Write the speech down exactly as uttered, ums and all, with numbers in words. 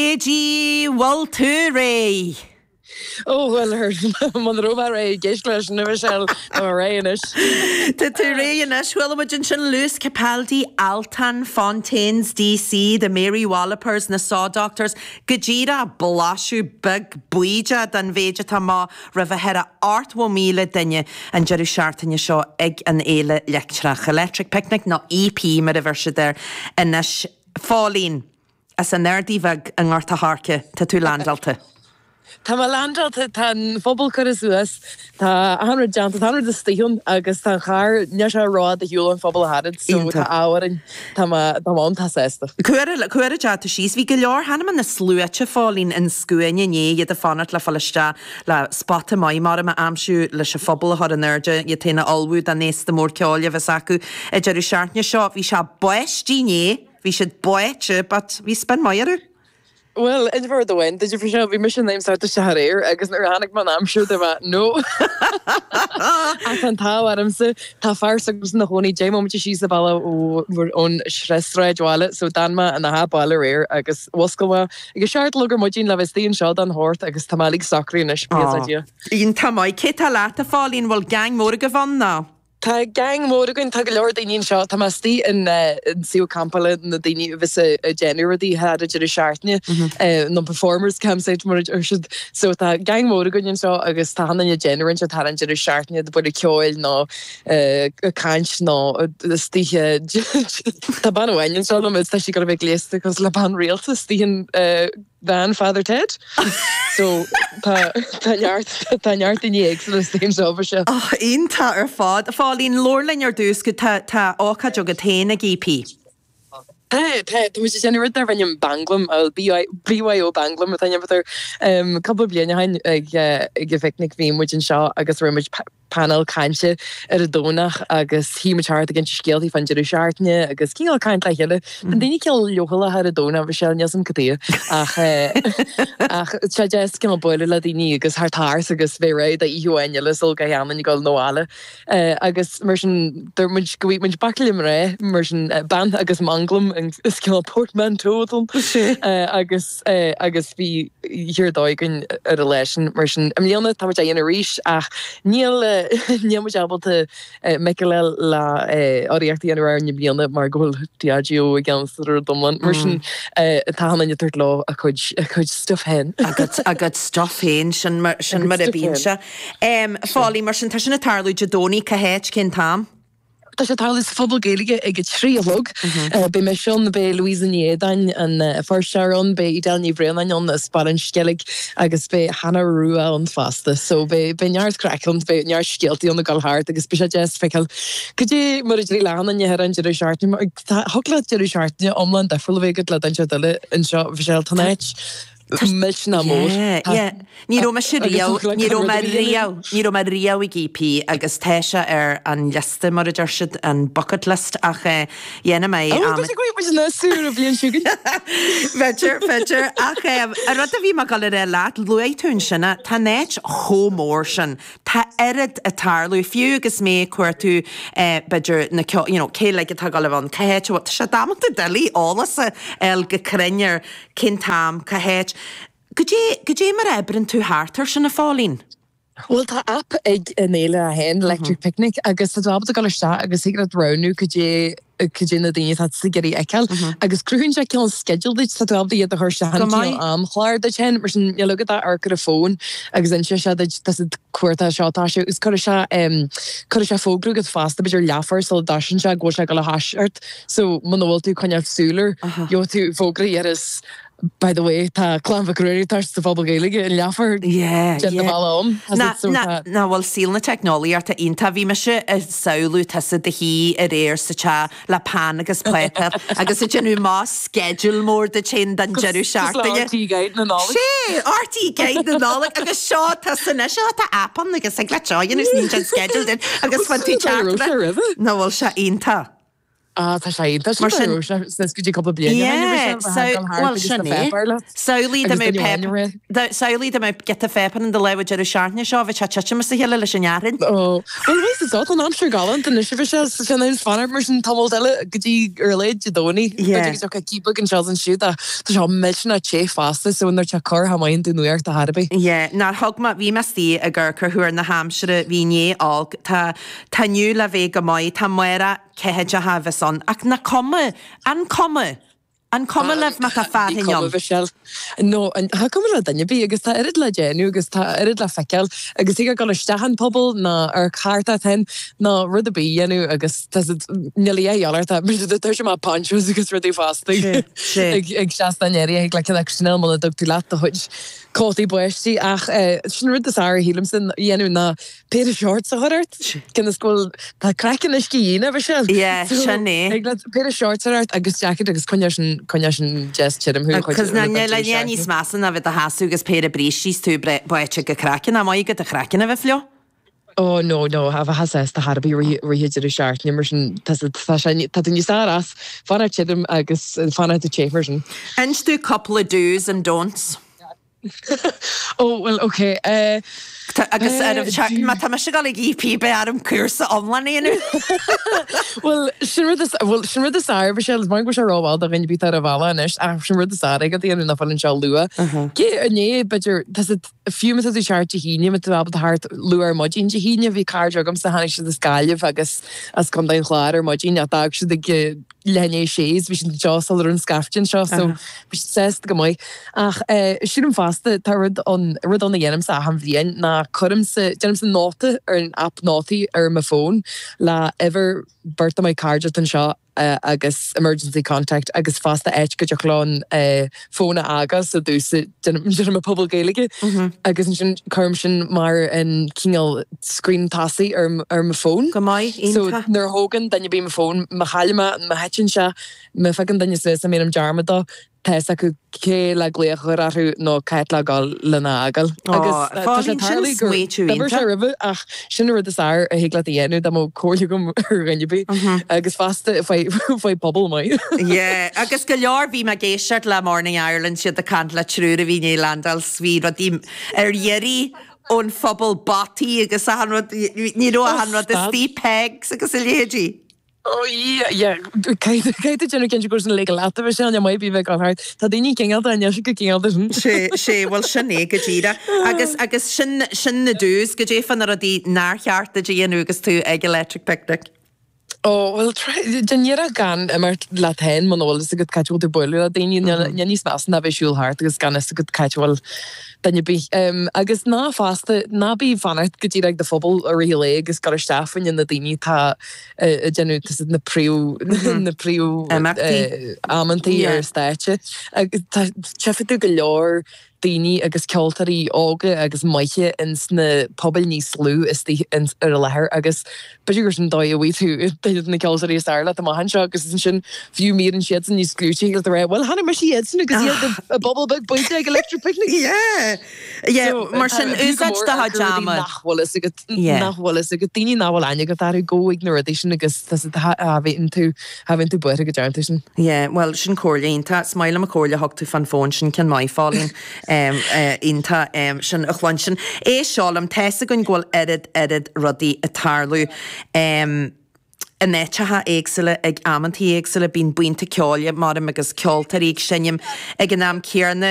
G bhfuil tú réidh? Ó bhuel muna raibh mé réidh ag éisteacht leis an Michelle tá mé réidh anois. Tá tú réidh anois. Chuala muid ansin Lewis Capaldi, Altan, Fontaines DC, The Mary Wallopers, na Saw Doctors, go díreach blaiseadh beag bídeach den mhéid atá amach roimh cheithre ochtó míle duine an deireadh seachtaine seo ag an Fhéile Leictreach, Electric Picnic nó EP mar a bheir siad air anois. Phóilín, as an Ardaidh Bheag i nGort a' Choirce, tá tú landáilte. Tá mé landáilte, tá an phuball curtha suas, tá achan rud déanta, tá achan rud istigh ann agus tá an carr, níl sé rófhada ar shiúl ón phuball ach oiread, so tá ádh orainn, tá mé, tá mé iontach sásta. Cá huair, cá huair a d'fhág tú síos? Bhí go leor, chonaic mé na sluaite, Phóilín, an scuaine inné, iad ag fanacht le fáil isteach le spota maith mar a aimsiú leis an phuball a chur in airde, iad féin a ullmhú don fhéasta mór ceoil a bheas acu an deireadh seachtaine seo. Bhí sé báistí inné. Bhí siad báite but bhí spin maith orthu. Bhuel, inseoidh mé rud amháin duit faoi seo, bhí mise in ainm is a theacht isteach aréir agus nuair a chonaic mé an aimsir dúirt mé no! Ach tá an t-ádh ormsa, tá fear s'agamsa ina chónaí deich mbomaite síos an bealach ón sráidbhaile so d'fhan mé ina theach baile aréir agus mhuscail mé ag a seacht a chlog ar maidin le bheith istigh anseo don shórt agus tá mé uilig socraithe anois, buíochas le Dia. Iontach maith. Cé tá leat, a Phóilín? Bhfuil gang mór agaibh ann nó? Tá gang mór againn, tá go leor daoine anseo, tá mé istigh in suíomh campála na daoine a bheas ag déanamh rudaí thar an deireadh seachtaine, nó performers campsite mar a deir siad. So tá gang mór againn anseo agus tá achan duine ag déanamh roinnt thar an deireadh seachtaine, ag bualadh ceoil nó ag caint nó istigh. Tá bean amháin anseo liom is tá sí ag gabháil a bheith gléasta cosúil le bean rialta istigh in veain Father Ted. So tá tá neart tá neart daoine éagsúla istigh anseo ba seo. Oh, iontach ar fad. A Phóilín, labhair linn ar dtús go tá tá ócáid agat féin ag EP. Tá, tá, tá muid ag déanamh rud darb ainm Banglam, BYO Banglam atá ainm air. Cúpla bliain ó shin ag ag an phicnic bhí muid anseo agus rinne muid painéal cainte ar an Domhnach agus shuigh muid thart ag inse scéaltaí fán deireadh seachtaine agus cineál caint le chéile. Tá daoine cineál leochaileach ar an Domhnach, Michelle, níl 's a'm cad chuige ach ach tá sé deas cineál bualadh le daoine agus thart thart agus bheith réidh d'oíche amháin eile sul gach aon duine ag dul 'na bhaile. Agus mar sin dúirt muid go bhfaighidh muid baicle mná mar sin bean agus manglam is cineál portmanteau atá ann agus agus bhí oíche ar dóigh againn ar an lá sin. Mar sin i mbliana tá muid á dhéanamh arís ach níl níl muid ábalta Michael le urraíocht a dhéanamh orainn i mbliana mar go bhfuil Diageo i gceannas ar an rud iomlán. Mar sin tá achan duine ag tabhairt leo a cuid a cuid stuff féin. A gcuid a gcuid stuff féin, sin mar sin mar a bíonn sé. Phóilín, mar sin tá sin ag tarlú Dé Domhnaigh, cá háit, cén t-am? Tá sé ag tarlú sa Phuball Gaeilge ag a trí a chlog. Beidh mise ann, beidh Louisa Ní Éadáin an Feirsteach ann, beidh Edel Ní Bhraonáin ann as Baile an Sceilg agus beidh Hannah Rua ann fosta. So beidh beidh neart craic ann, beidh neart scéaltaí ann ag dul thart agus beidh sé deas feiceáil cad é mar a d'éirigh le achan duine thar an deireadh seachtaine. Mar tá thig leat deireadh seachtaine iomlán difriúil a bheith agat le duine ar eile anseo, Michelle, tá an áit millteanach mór. Yeah, yeah. Ní raibh mise riamh, ní raibh mé riamh, ní raibh mé riamh ag EP agus tá sé ar an liosta mar a deir siad, an bucket list ach eh, dhéanfaidh mé Ó, tá sé go muid na súr a bhliain seo chugainn. B'fhéidir, b'fhéidir, ach eh, an rud a bhí mé ag dul a rá leat, luaigh tú ansin é, tá an áit chomh mór sin, tá oiread ag tarlú, fiú agus mé ag cuartú eh, b'fhéidir na ceo, you know, cé uilig atá ag dul a bheith ann, cá háit a bhfuil, tá sé damanta doiligh eolas a fháil go cruinn ar Cén t-am, cá háit? Goidé, goidé mar a oibreann tú thart air sin, a Phóilín? Bhuel, tá aip ag an fhéile é féin, Electric Picnic, agus tá tú ábalta dul isteach agus thig leat roghnú goidé, goidé na daoine atá tú ag iarraidh a fheiceáil agus cruthaíonn sé cineál sceideal duit, tá tú ábalta iad a chur isteach in cineál amchlár duit féin, mar sin níl agat ach amharc ar an bhfón agus inseoidh sé duit, tá siad cuartá seo, tá sé, agus cuirfidh sé, cuirfidh sé fógra chugat fosta, b'fhéidir leathuair sula dtoisíonn sé go bhfuil sé ag dul a thoiseacht. So, muna bhfuil tú ag coinneáil súil air, gheobhaidh tú fógra a dhéarfas, By the way, tá Clann Mhic Ruairí ag toiseacht sa Phuball Gaeilge i leathuair Yeah, déan do yeah. bhealach ann. Tá Ná, so ná, tá. ná bhfuil saol na teicneolaíochta iontach. Bhí mise ag samhlú tusa i do shuí aréir sa teach le peann agus páipéar agus ag déanamh mo schedule mór duit féin don deireadh Cosúil le seachtaine. RTÉ Guide na Nollag. Sé! RTÉ Guide na Nollag agus seo tusa anois, á tá aip ann agus thig leat seo a dhéanamh is níonn sé an schedule duit agus Bhuel, fann tú sin an dóigh a raibh teacht sé roimhe. Ná bhfuil sé iontach. Ah tá sé tá Mar sin go dtí cúpla bliain well sin é. Samhlaigh dá mbeadh pep samhlaigh dá mbeadh giota pepper in do lámh an deireadh seachtaine seo bheadh sé titim as a chéile leis an fhearthainn. Ó well bhí sa an aimsir galánta anois bhí sé sin an fanacht mar sin tamall eile go dtí ar a laghad Dé Domhnaigh. B'fhéidir go dtiocfaidh cíobadh anseo is ansiúd ach tá sé millteanach te fosta so nuair tá cor tha maith an nuacht a thairbí. Yeah, nár thug mé bhí mé istigh ag amharc ar thuar na haimsire bhí inné olc tá tá inniu le bheith go maith tá amárach ceathaideacha a bheas ann ach nach cuma an cuma an cuma libh má tá Ní fearthainn cuma ann? Mhichelle. No an tá cuma le duine ar bith agus tá oiread le déanamh agus tá oiread le feiceáil agus thig dul isteach an puball ná ar cárta ten ná rud ar bith a dhéanamh agus tá siad níl a dhath eile ort tá sé maith ponchos agus rudaí fosta Sé sé. ag ag seastán éirithe ag le ceann acu sin muna dtug tú leat do chuid cótaí báistí ach sin rud is fearr a shílimse a dhéanamh ná péire shorts a chur ort cionn is go bhfuil tá craiceann uisce íon a Mhichelle Yeah, so sin é. ag le péire shorts a chur ort agus jacket agus coinneoidh sin coinneoidh sin deas tirim thú chuid Cos rud na an le deireadh ní níos seachtaine. measa ná bheith do sheasamh agus péire brístí is tú báite go craiceann, nach maith agat do chraiceann a bheith fliuch? Oh no no a bheith sásta thar a bith rith deireadh seachtaine mar sin tá tá sé tá tú níos fearr as fanacht tirim agus fanacht te mar sin. Inis tú cúpla do's and don'ts. Oh well okay uh, Tá agus ar uh, má tá mise ag gabháil ag EP beidh orm cúrsa iomlán a dhéanamh. Well sin rud is well sin rud is fearr Michelle is maith go bhfuil sé rómhall do dhuine ar bith ar an bhealach anois ach sin rud is fearr ag daoine nach bhfuil anseo luath. Cé inné b'fhéidir tá siad fiú má tá tú thart Dé hAoine má tá tú ábalta thart luath ar maidin Dé hAoine bhí cairde agamsa tháinig siad as Gaillimh agus as Contae an Chláir ar maidin ach d'fhág siad ag leath i ndiaidh a sé is bhí siad anseo sula raibh an scaifte anseo so bhí siad sásta go maith. Ach eh, sílim fosta tá rud an rud ann a dhéanaimse achan bhliain ná cuirimse déanaimse nóta ar an app nótaí ar mo fón le uimhir beirt de mo chairde anseo uh, agus emergency contact agus fosta áit go dtiocfadh leo an uh, fón a fhágáil so dúsa déanaim a puball Gaeilge agus ansin cuirim sin mar an cineál screen tosaigh ar ar mo fón. Go maith So iontach. nuair a thógann duine ar bith mo fón má chaillim é má thiteann sé má phiocann duine suas a ndéanaim dearmad dó tá fhios acu cé le glaoch a chur orthu nó cá háit le gabháil lena fhágáil. Agus Ó, tá sé Phóilín sin tarlaithe gur smaoitiú d'oibir sé iontach. roimhe ach sin an rud is fearr a thig leat a dhéanamh dá mbeadh comhairle agam ar dhuine ar bith agus fosta faoi faoi puball maith. Yeah, agus go leor bhí mé ag éisteacht le Morning Ireland siad ag caint le triúr a bhí i ndiaidh landáil 's bhí rudaí ar iarraidh ón phuball bataí agus achan rud ní raibh Oh, achan rud stop. istigh pegs agus a leithéidí. Oh yeah, yeah. Caithfidh tú déanamh cinnte go san le leat bheith sin maith bí bheith gan thart. Tá daoine cineálta anois go cineálta sin. Sé sé bhfuil sin é go díreach agus agus sin sin na do's go dté fan na rudaí nár cheart duit a dhéanamh agus tú ag Electric Picnic. Oh well déan iarracht gan imeacht leat féin muna bhfuil fhios agat cá háit a bhfuil tú bualadh le daoine níl níos measa ná bheith siúl thart agus gan fhios agat cá háit a bhfuil duine ar bith. Um, agus ná fosta ná bí fanacht go dtí ag do phuball i rith an lae agus gabh isteach fá choinne na daoine tá ag déanamh tá siad na príomh na príomh Imeachtaí. amantaí Yeah. ar stáitse. Agus tá tchífidh tú go leor daoine agus ceoltóirí óga agus maithe ins na pobail níos lú istigh ins ar an láthair agus b'fhéidir gur sin dóigh a bhfaighidh tú duine de na ceoltóirí is fearr leat amach anseo agus ansin fiú míreann siadsan níos clúití le rá well chonaic mise iadsan agus iad i bpuball beag bainte ag Electric Picnic. Yeah. Yeah, So, mar sin tá- fiú go úsáid mór do ar chuid rudaí ama. nach bhfuil fhios agat Yeah. nach bhfuil fhios agat daoine nach bhfuil aithne agat orthu go ag na rudaí sin agus tá siad a bhíonn tú a bhíonn tú buartha go dtearn tú sin. Yeah, well sin comhairle iontach Is maith liom an chomhairle a thug tú fan fón sin ceann maith Phóilín um, uh, iontach um, sin a chluinstin. É seo liom tá fhios againn go bhfuil oiread oiread rudaí ag tarlú. Um, in áiteacha éagsúla ag amantaí éagsúla bíonn buíonta ceoil mar agus ceoltóirí ag seinm ag an am céanna